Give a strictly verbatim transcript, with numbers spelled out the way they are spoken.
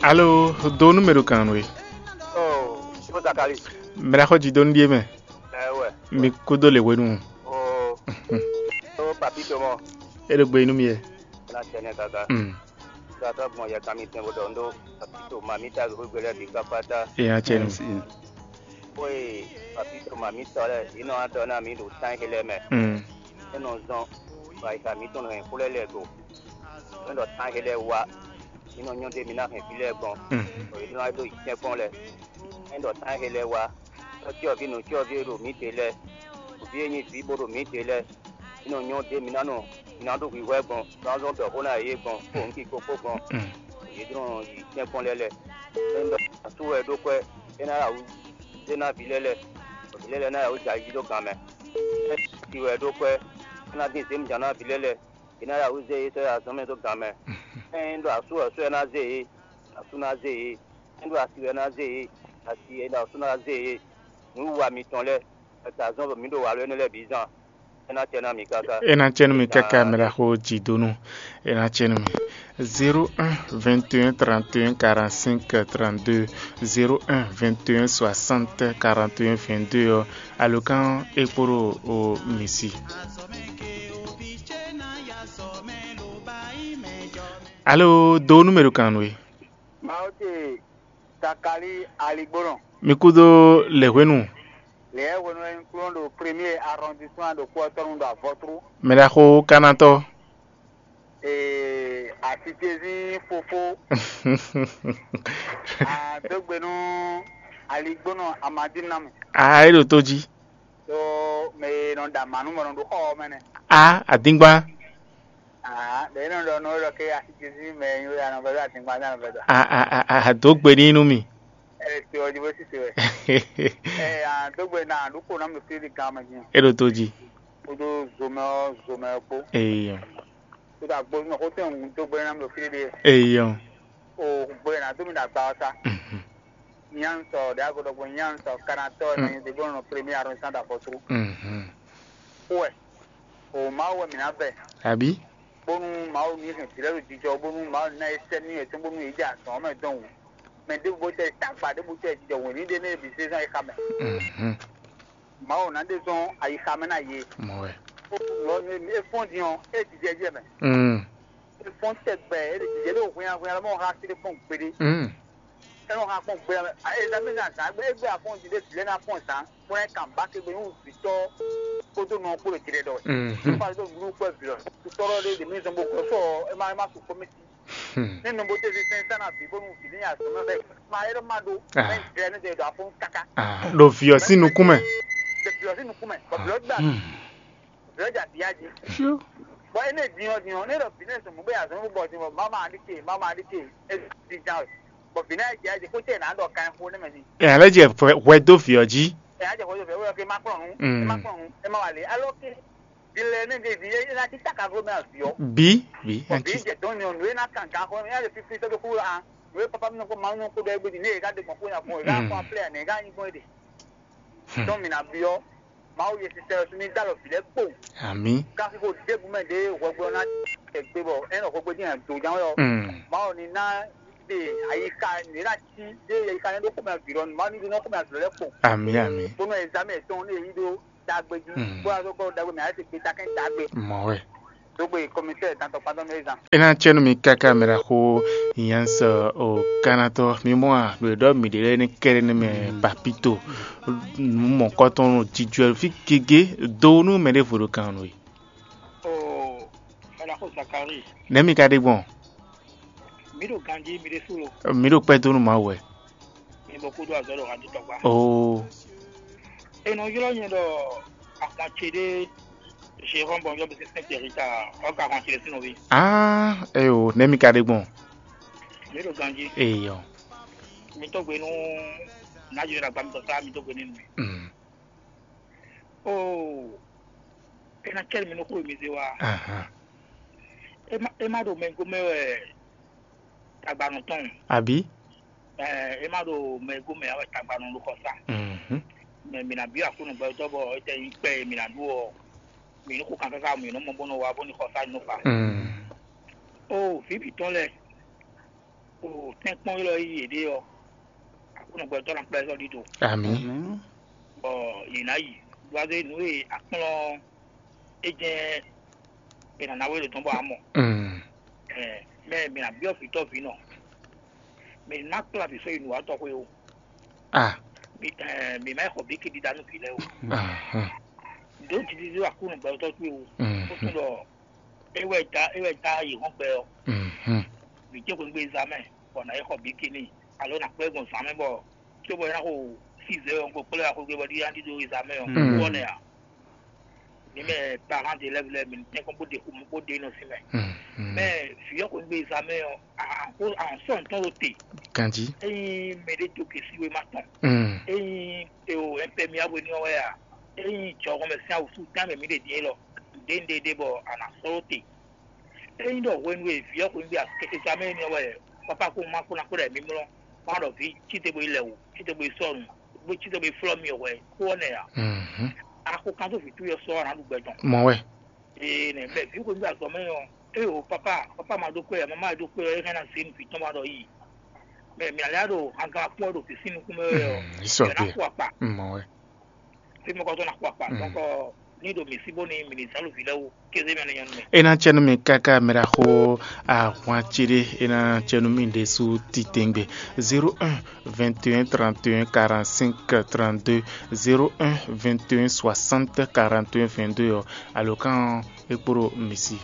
Alo, do nú mɛ ɖo kan nú we. Oh, ko Zakali. Mɛ ɖaxó jí dó nú ɖíe mɛ. Ɛwɛ. Mi kúdó le hwenu. Oh. Oh, Papito mɔ. E ɖo gbe nú mi yɛ. Na tɛnɛ gaga. Mm. Sata gbɔn yɛ kami tɛn bo dɔ ndo. Papito ma mi ta go gbe lɛ bi kpakpata. E ya cɛ nu. Xwe Papito ma mi tɔ lɛ, yi nɔ adɔ na mi ɖo tan he lɛ mɛ. Mm. E nɔ zɔn. Ba yi ka mi tɔn hɛn xwlɛ lɛ go. E nɔ tan he lɛ wa. Mi nɔ nyɔ ɖe mi ná hɛn fí lɛ́ɛ gbɔn, bɔ yě nɔ wá ɖó yi tɛ́nkpɔ́n lɛ́ɛ. É ɖɔ tán he lɛ́ɛ wá, tɔ́cyɔvǐ nǔcyɔvǐ e ɖo mǐ te lɛ́ɛ, vǐ e nyí vǐ bó ɖo mǐ te lɛ́ɛ, mi nɔ nyɔ ɖe mi ná nɔ mi ná ɖó hwǐhwɛ́ gbɔn, ná zɔ́n ɖɔ xó ná yě gbɔn, kpó nǔkiko kpó gbɔn, yě nɔ yi tɛ́nkpɔ́n lɛ́ɛ lɛ́ɛ. É ɖɔ asú wɛ ɖó kwɛ́, é ná ɖo awǔ zé ná vǐ lɛ́ɛ lɛ́ɛ, bɔ vǐ lɛ́ɛ lɛ́ɛ ná ɖo awǔ jɛ ayi jí ɖó gan mɛ. É ɖɔ asi wɛ ɖó kwɛ́, é ná dín zěmija ná vǐ lɛ́ɛ lɛ́ɛ. È nǎ ɖo awǔ zé yě sɔ́ yi azɔ̌ mɛ dó gan mɛ. Ényí ɖɔ asú wɛ sɔ́ ɛ ná zé yě, asú ná zé yě. Ényí ɖɔ asi wɛ ná zé yě, asi è ɖɔ asú ná zé yě. Nǔwiwa mitɔn lɛ́ɛ, è ka zɔ́n bɔ mǐ ɖo walɔ énɛ́ lɛ́ɛ bǐ zán. É ná cɛ ná mi káká. É ná cɛ nú mi káká, mɛ ɖaxó Jidonu. É ná cɛ nú mi. Zéro un vingt et un trente et un quarante-cinq trente-deux, zéro un vingt et un soixante quarante et un vingt-deux ɔ́, alǒkan é kpo ɖo o mi si. Alo, do numéro kan we. Mawu ce Zakali Aligbónɔ. Mi kúdó lɛ̌hwenu. Lɛ̌hwenu wɛ un kplɔ́n ɖo premier arrondissement ɖo kú ɔ́ tɔn nu ɖo avɔtru. Mɛ ɖaxó Kanatɔ. Ee, asicezín fofó. Ah, dó gbe nú Aligbónɔ Amadínamu. Ah, é ɖo tó jí. Tó mɛ e nɔ ɖa mǎ nú mɔ nɔ ɖo xɔ ɔ́ mɛ nɛ. Ah, adíngban. Ah, ɖe nɔ ɖɔ nɔ ɖɔ ke asicezín mɛ e nyí wɛ anɔ vɛdɔ adíngban nɛ anɔ vɛdɔ. Ah, ah, ah, ah, dó gbe ní nú mi. Ɛ ti ɔ jí bó sisi wɛ. Ɛ ah, dó gbe na ɖo kó na mi fili gan mɛ jí. É ɖo tó jí. Kódó zomɛ ɔ zomɛ kpó. Eyɔ. Kódó agbózúmɔ kó tɛn ń dó gbe na mi fili ɖe. Eyɔ. O gbe na dó mi ɖo agba ɔ ta. Mhm. Nyansɔ ɖe ago ɖɔgbɔ nyansɔ kanatɔ na nyi debo nɔ premier arrondissement d'afɔtru. Mhm. Kó wɛ. O Mawu wɛ mi na vɛ. Abi. Bónú Mawu ní hɛn vǐ lɛ́ɛ ɖo jijɔ, bónú Mawu ní ná yě sɛ́ nú yě tɔn, bónú yě jɛ azɔ̌ mɛ dɔn wǔ. Mɛ ɖěbǔ bó tɛ tagba ɖěbǔ tɛ jijɔ wění ɖé nɛ́ bǐ zezɔn e xa mɛ. Mhm. Mawu ná ɖe zɔn ayixa mɛ ná yě. Mɔ wɛ. Ó lɔ nú é fɔ́n din ɔ́, é jijɛ jɛ mɛ. Mm. É fɔ́n tɛgbɛ, é ɖe jijɛ ɖo hwinnya hwinnya lɔ mɔ xa sí ɖé kpɔ́n gbeɖé. Mm. É nɔ xa kpɔ́n gbeɖé mɛ. Ezami ná zǎn gbé, é gbé afɔ́n din ɖé vǐ lɛ́ɛ ná fɔ́n zǎn, bó ná kan bá kegbe nú vǐtɔ́ kpódó nɔ kpó ɖo jlɛ ɖɔ wɛ. Mm. Nípa tó nǔɖuɖu kpɛ́ vǐ lɔ, tutɔ́ lɔ ɖé ɖe mí zɔn bó gɔ́ sɔ, é má é má su kpɔ́ mì sí. Hmm. Ní nɔ bó tɛ́ zí sɛn sá ná bǐ bónú vǐ ní azɔ̌ mɛ fɛ ma é ɖɔ má ɖó. Ah. Mɛ jɛ ní ɖe ɖo afɔ́n káká. Ah, ɖo vǐ ɔ́ sín nukún mɛ. Ɖe vǐ ɔ́ sín nukún mɛ, bɔ vǐ ɔ́ gbà. Hmm. Vǐ ɔ́ jà bǐ yá jí. Fiu. Bɔ énɛ́ din ɔ́ din ɔ́, ní ɖɔ vǐ ní sɔn mɔ̌ bó yi azɔ̌ mɛ bó bɔ din bɔ mama aɖíke, mama aɖíke, é dín ján wɛ. Bɔ vǐ ní jɛ jí kó tɛ nǎ ɖɔ kan xó nɛ́ mɛ ní. Ɛ, alé jɛ hwɛ, hwɛ dó vǐ ɔ́ jí. Ɛ, á jɛ xó yɔ vǐ ɔ́ ke má kplɔ́n nǔ, é má kplɔ́n nǔ, é má wa lě. Alɔ ke. Vǐ lɛ́ɛ nɛ́ ɖe vǐ é ná cí taka gló mɛ azǐ ɔ́. Bí, bí, bɔ vǐ jɛ dɔn nyɔ nǔ e ná kan gan xɔ mɛ, é ná ɖe fífí sɛ́ dó kú a. Nǔ e papa mi nɔ kó ma nyɔ kó ɖɔ égbé din, ní e ká ɖe gbɔn kó nya gbɔn, e ká kó aplɛ ane, e ká nyi gbɔn é ɖe. Tɔn mi ná byɔ́. Mawu ye sisɛ ɔ́ ní dó alɔ vǐ lɛ́ɛ kpo. Amǐ. Káfí kó ɖěbǔ mɛ ɖě hwɛgblɔ ná tɛ gbé bɔ é nɔ hwɛgblɔ dín do ján wɛ ɔ́. Mawu ní ná ɖe ayixa nǔ e ná cí ɖe ayixa nɛ́ ɖó xomɛ vǐ lɔ nǔ, Mawu ní ɖó ná xomɛ vǐ lɔ lɛ́ɛ kpo. Amǐ, amǐ. Bónú ɛzamɛ tɔn ní èyí ɖó dagbe jí, bó wá sɔ́ kɔ dagbe mɛ, a yɛ se kpe takɛn dagbe. Mɔ wɛ. Dogbe kɔmitɛ tantɔ kpantɔ mɛ zan. E ná cɛ nú mi káká mɛ ɖaxó Yans o Kanatɔ, mi mɔ a, ɖo e ɖɔ mi ɖe lɛ́ɛ ní kɛɖɛ nɛ mɛ papito, nǔ mɔ̌kɔtɔn nɔ jijɔ fí gégé, do nú mɛ ɖěvo ɖo kan nú we. Oo, mɛ ɖaxó Zakari. Nɛ̌ mi ka ɖe gbɔn? Mi ɖo ganjí, mi ɖe súlo. Mi ɖo kpɛ́ dó nú Mawu wɛ. Mi bɔ kúdó azɔ̌ ɖo hǎndítɔ́gbá. Oo. E nɔ ylɔ́ nyɛ ɖɔ ahwan ce ɖé Jérôme Bɔnjɔ bɛ sísɛ́n Tɛrita ɔ́ ka ahwan ce ɖé sín nɔví. Ah, eyo, nɛ̌ mi ka ɖe gbɔn? Mi ɖo ganjí. Eyɔ. Mi tɔ́ gbe nú Nǎjínɔ ɖo agba mitɔn sá, mi tɔ́ gbe nú mi. Mm. Oo, é ná cɛ́ mi nú xó e mi zé wá. Ahan. É má é má ɖo mɛ gomɛ wɛ tagbanɔ tɔn. Àbí? Ɛ é má ɖo mɛ gomɛ wɛ tagbanɔ ɖo xɔsá. Mhm. Mɛ mi ná byɔ́ Aklúnɔ gbɛtɔ́ bɔ é tɛ nyí kpɛ e mi ná ɖu ɔ́, mi ní xo kan káká mi nɔ mɔ bó nɔ wá bó ní xɔsá ní nɔ fa. Mm. Oo, vǐ bǐ tɔn lɛ́ɛ. O tɛ́nkpɔ́n élɔ́ yí yěɖée ɔ́, Aklúnɔ gbɛtɔ́ ná kplá ɛ sɔ́ ɖíɖo, Àmì. bɔ yě ná yi. Ɖuwáze nǔ e akplɔ́n é jɛ́n è nǎ ná wé ɖo tɔn bɔ amɔ. Mm. Mɛ mi ná byɔ́ vǐtɔ́ vǐ nɔ. Mi ná kplá vǐ sɔ́ yi nǔwatɔ́ xwé o. Ah. Mi ɛ, mi má yi xɔ bíkí ɖiɖa nú vǐ lɛ́ɛ o. Ahan. Ɖǒ jiji ɖó Aklúnɔ gbɛtɔ́ towe o. Mm. Ó tún ɖɔ é wɛ da é wɛ da yi hɔn gbɛ ɔ́. Mhm. Vǐ ce xwégbé zán mɛ bɔ nǎ yi xɔ bíkí n'i alo nǎ kplɔ́ ɛ gbɔn zán mɛ bɔ cóbɔ é ná xo sizɛ́ ɔ́ gbo kplɔ́ ɛ axwégbé bɔ ɖíɖá ɖíɖó yi zán mɛ ɔ́. Mm. Wɔ nɛ a? Ní mɛ parents d'élèves lɛ́ɛ mi ní tɛ́nkpɔ́n bó ɖe xomɔ bó ɖe nɔ sí mɛ. Mhm. Mɛ vǐ ɔ́ xwégbé zán mɛ ɔ́, a sɔ ntɔ́n ɖo te. Ganji. Ényí mɛɖé dó gěsíwé ma tɔn. Mm. Ényí eo ɛnpɛmiabwe ní ɔ́ wɛ a? Ényí jɔhɔn mɛ sín awǔsú tán mɛ mǐ ɖe din élɔ́, ɖěŋɖéɖé bɔ a nǎ sɔ́ ɖó te. Ényí ɖɔ hwenu e vǐ ɔ́ xweyǐgbe examɛ́ énɛ́ wɛ pápá kó má kó ná kó ɖɔ mǐmlɔ́, má ɖɔ vǐ cíte bo yi lɛ wǔ, cíte bo yi sɔ́ nǔ, bó cíte bo yi flɔ́ myɔ hwɛ kó ɔ́ nɛ́ ǎ. Mhm. A ko kan dó vǐ towe ɔ́ sɔ́ ɔ́, a nǎ ɖu gbɛ tɔn. Mɔ wɛ. Ee nɛ mɛ vǐ xweyǐgbe azɔ̌ mɛ ɔ́, ée o pápá pápá ma ɖó kpé ǎ, mamá e ɖó kpé ɔ́, é hɛn ná zé nǔ vǐ tɔn ma ɖɔ yí. Mɛ mǐ alɛ ɖo hangan kpɔ́ ɖo vǐ sín nukún mɛ wɛ ɔ́, Mm, ìsɔ mǐ ná gbé. kó akpa. Mɔ wɛ. Fí mɔ kɔtɔn ná kó akpa. Mm. Donc ní ɖo mǐ sí bó ní mǐ ní zán ɖo vǐ lɛ́ɛ wú kéze mɛ ní nyɔ́ nú mɛ. E ná cɛ nú mi káká mɛ ɖaxó ahwan céɖé, e ná cɛ nú mi ɖésú titewungbe. Zéro un vingt et un trente et un quarante-cinq trente-deux, zéro un vingt et un soixante quarante et un vingt-deux ɔ́, alǒkan ɔ́, é kpo ɖo mi sí.